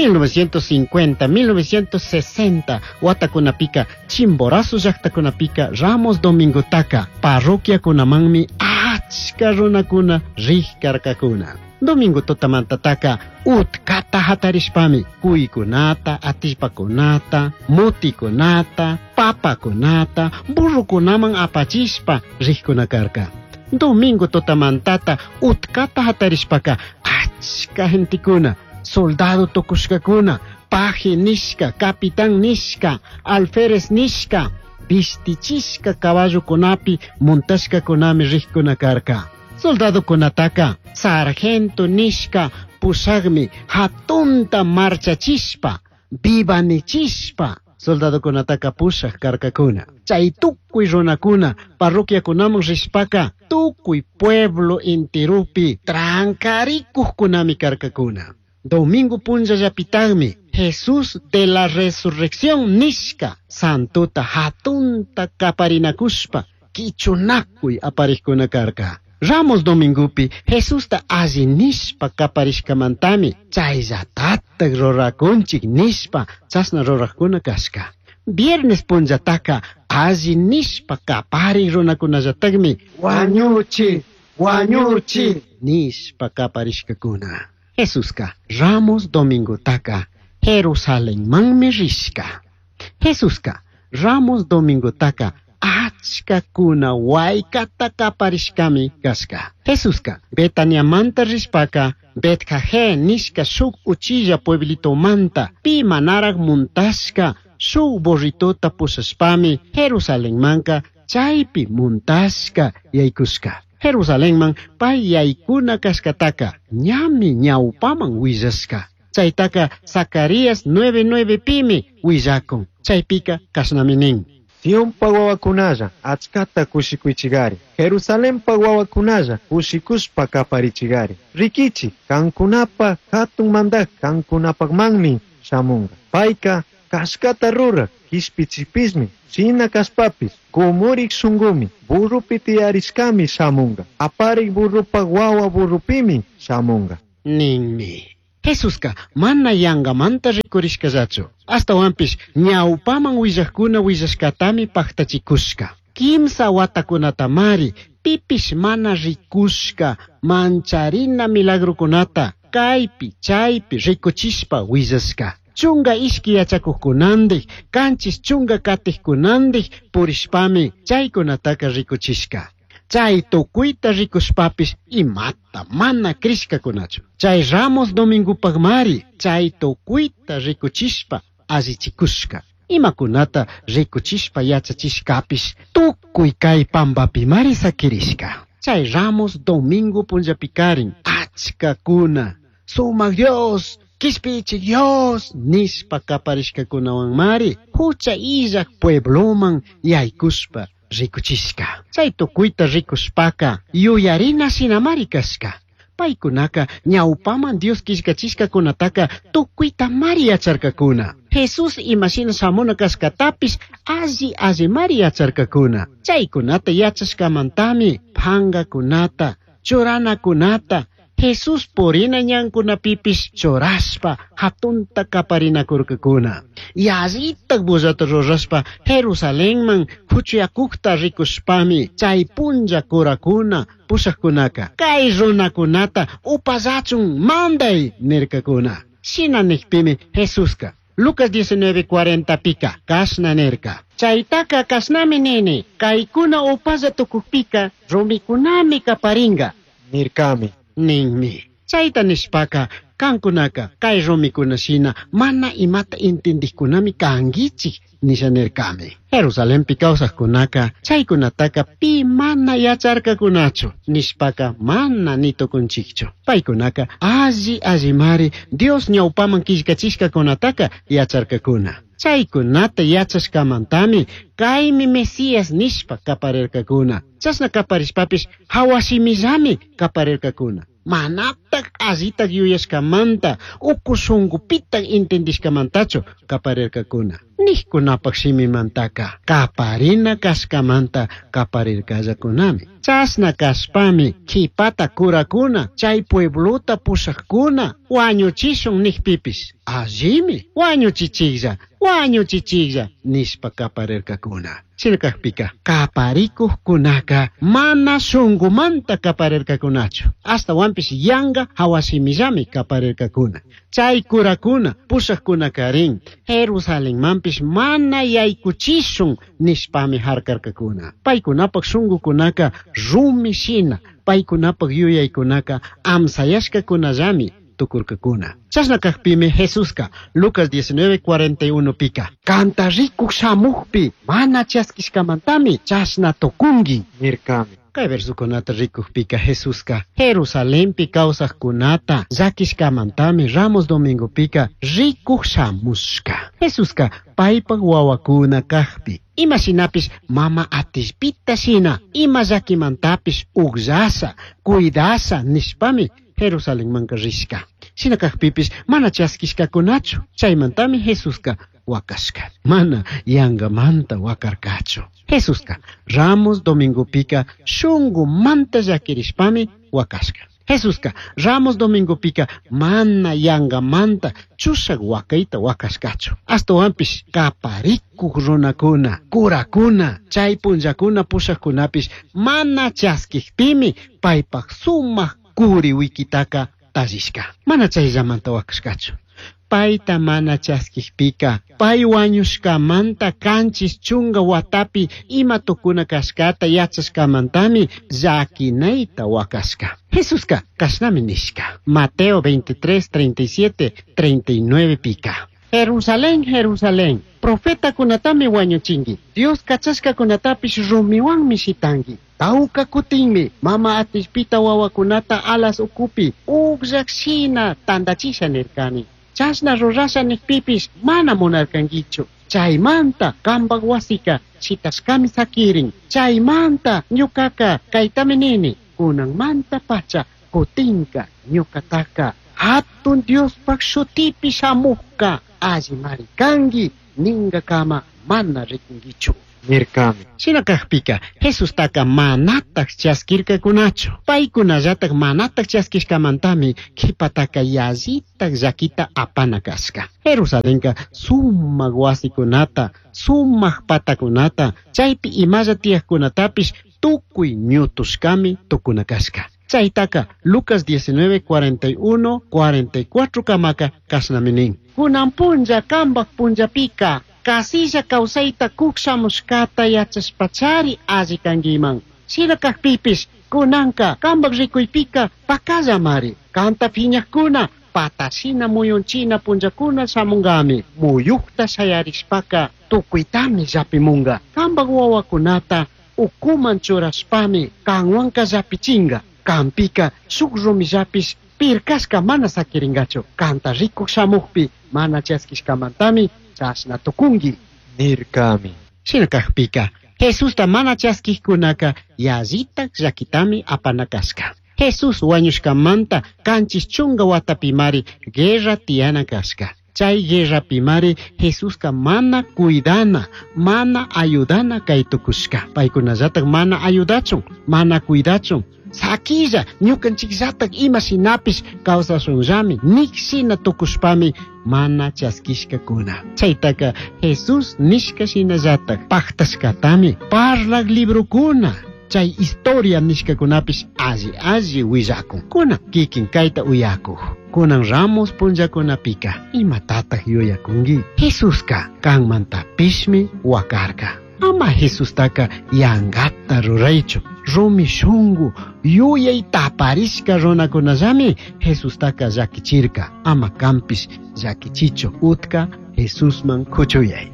1950, 1960 watakunapika Chimborazo llaqtakunapika Ramos Domingotaka parroquiakunamanmi achka runakuna riq karkakuna. Domingo tutamantataka utkata hatarishpami kuykunata, atishpakunata, mutikunata, papakunata, burrukunaman apachishpa riqkuna karka. Domingo tutamantata utkata hatarishpaka achka gentekuna, soldado tukushkakuna, paje nishka, capitán nishka, alférez nishka, vistichishka caballokunapi montashkakunami riqkuna karka. Soldadokunataka sargento nishka pushakmi hatunta marchachishpa, vivanichispa soldadokunataka pushak karkakuna. Chay tukuy runakuna parroquiakunaman rishpaka tukuy pueblo intirupi trankarikuqkunami karkakuna. Domingo punllallapitaqmi Jesús de la resurrección nishka santota hatunta kaparinakushpa kichunakuy aparijkuna karka. Ramos domingupi Jesusta alli nishpa kaparishkamantami chayllatatak rurakunchik nishpa chashna rurajkuna kashka. Viernes punllataka alli nishpa kapari runakunallatakmi Wañuchi, wañuchi. nishpa kaparishkakuna. Jesuska Ramos domingotaka Jerusalenmanmi rishka. Jesuska Ramos domingotaka achkakuna waykata kaparishkami kashka. Jesuska Betaniamanta rishpaka Betjajé nishka shuk uchilla pueblitomanta pi manaraj muntashka shuk burritota pushashpami Jerusalenmanka chaypi muntashka yaykushka. Jerusalenman pay yaykuna kashkataka ñami ñawpaman willashka. Chaytaka Zacarías 9:9 pimi willakun. Chaypika kashnami nin. Sionpa wawakunalla achkata kushikuychigari. Jerusalenpa wawakunalla kushikushpa kaparichigari. Rikichi, kankunapa hatun mandak kankunapaqmanmi shamunqa. Payka kashkata ruraq kishpichipismi, shina kashpapis, kumurik shunqumi, burrupi tiyarishkami shamunqa. Aparik burrupaq wawa burrupimi shamunqa. Ninmi. Jesuska mana yangamanta rikurishkallachu. Ashtawanpish ñawpaman willakuna willashkatami paktachikushka. Kimsa watakunatamari pipish mana rikushka mancharina milagrokunata kaypi chaypi rikuchishpa willashka. Chunga ishki yachakuqkunandik, kanchis chunga katiqkunandik purishpami chaykunataka rikuchishka. Chay tukuyta rikushpapis imata mana krishkakunachu. Chay Ramos domingupaqmari chay tukuyta rikuchishpa allichikushka. Imakunata rikuchishpa yachachishkapish tukuy kay pampapimari sakirishka. Chay Ramos domingo punllapikarin achkakuna sumak Dios, kishpichik Dios nishpa kaparishkakunawanmari hucha illak puebloman yaykushpa rikuchishka. Chay tukuyta rikushpaka yuyarina shinamari kashka. Paykunaka ñawpaman Dios killkachishkakunataka tukuytamari yacharkakuna. Jesús imashina shamuna kashkatapish alli allimari yacharkakuna. Chaykunata yachashkamantami pangakunata, churanakunata, Jesús purina ñankunapipish churashpa hatunta kaparinakurkakuna. Yallitak bullata rurashpa Jerusalenman huchuyakukta rikushpami chay punlla kurakuna pushakkunaka kay runakunata upallachun manday nirkakuna. Shina nikpimi Jesuska Lucas 19:40 pika kashna nirka. Chaytaka kashnami nini kaykuna upalla tukukpika rumikunami kaparinga Nirkami. Ninmi. Chayta nishpaka kankunaka kay rumikuna shina mana imata intindikkunami kankichik nisha nirkami. Jerusalenpi kawsaqkunaka chaykunataka pi mana yacharkakunachu nishpaka mana ni tukunchikchu. Paykunaka alli allimari Dios ñawpaman killkachishkakunataka yacharkakuna. Chaykunata yachashkamantami kaymi Mesías nishpa kaparirkakuna. Chashna kaparishpapish hawashimillami kaparirkakuna. Manatak allitak yuyashkamanta uku shunkupitak intindishkamantachu kaparirkakuna. Nijkunapaj shimimantaka kaparina kashkamanta kaparirkallacunami. Chashna kashpami kipata kurakuna chay pueblota pushajkuna wañuchishun nijpipish allimi wañuchichiklla wañuchichiklla nishpa kaparirkakuna. Shina kajpika kaparikujkunaka mana shunkumanta kaparirkakunachu, ashtawanpish yanga hawashimillami kaparirkakuna. Chay kurakuna pushajkunakarin Jerusalenmanpish mana yaykuchishun nishpami harkarkakuna. Paykunapaj shunkukunaka rumi shina, paykunapaj yuyaykunaka amsayashkakunallami tukurkakuna. Chashna kajpimi Jesuska Lucas 19:41 pika kanta rikuj shamujpi mana chaskishkamantami chashna tukunki nirkami. Kay versukunata rikujpika Jesuska Jerusalenpi kawsajkunata llakishkamantami Ramos domingopika rikuj shamushka. Jesuska paypaj wawakuna kajpi ima shinapish mama atishpita shina ima llakimantapish ukllasha cuidasha nishpami Jerusalenmanka rishka. Shina kajpipish mana chaskishkakunachu, chaymantami Jesuska wakashka. Mana yangamanta wakarkachu. Jesuska Ramos domingopika shunkumanta llakirishpami wakashka. Jesuska Ramos domingopika mana yangamanta chushak wakayta wakashkachu. Ashtawanpish kaparikuj runakuna, kurakuna, chay punllakuna pushajkunapish mana chaskijpimi paypaj sumak kuri wikitaka tallishka. Mana chayllamanta wakashkachu. Payta mana chaskijpika, pay wañushkamanta kanchis chunga watapi ima tukuna kashkata yachashkamantami llakinayta wakashka. Jesuska kashnami nishka. Mateo 23, 37, 39 pika. Jerusalén, Jerusalén, profetakunatami wañuchinki, Dios kachashkakunatapish rumiwanmi shitanki. Tawka kutinmi mama atishpita wawakunata alas ukupi ukllak shina tandachisha nirkani. Chashna rurasha nijpipish mana munarkankichu. Chaymanta kambak wasika shitashkami sakirin. Chaymanta ñukaka kaytami nini. Kunanmanta pacha kutinka ñukataka hatun Diospaj shutipi shamujka allimari kanki ninkakama mana rikunkichu. Nirkami. Shina kajpika Jesustaka manataj chaskirkakunachu. Paykunallataj manataj chaskishkamantami kipataka yallitaj llakita apana kashka. Jerusalenka sumak wasikunata, sumak patakunata, chaypi imalla tiyajkunatapish tukuy ñutushkami tukuna kashka. Chaytaka Lucas 19, 41, 44 kamaka kashnami nin. Kunan punlla kambaj punllapika kasilla kawsayta kukshamushkata yachashpachari alli kankiman. Shina kajpipish kunanka kambaj rikuypika pakallamari. Kanta phiñajkuna patashina muyunchina punllakuna shamunkami. Muyukta shayarishpaka tukuytami llapimunka. Kambaj wawakunata ukuman churashpami kanwanka llapichinka. Kampika shuk rumillapish pirkashka mana sakirinkachu. Kanta rikuj shamujpi mana chaskishkamantami chashna tukunki. Nirkami. Shina kajpika Jesusta mana chaskijkunaka yallitaj llakitami apana kashka. Jesús wañushkamanta kanchis chunga watapimari guerra tiyana kashka. Chay guerrapimari Jesuska mana cuidana, mana ayudana kay tukushka. Paykunallataj mana ayudachun, mana cuidachun. Sakilla ñukanchikllataj ima shinapish kawsashunllami nik shina tukushpami mana chaskishkakuna. Chaytaka Jesús nishka shinallataj pajtashkatami parlak librokuna chay historia nishkakunapish alli alli willakun. Kunan kikin kayta uyakuj. Kunan Ramos punllakunapika imatataj yuyakunki? Jesuska kanmantapishmi wakarka. Ama Jesustaka yankata ruraychu. Rumi shunku yuyay taparishka runakunallami Jesustaka llakichirka. Ama kanpish llakichichu. Utka Jesusman kuchuyay.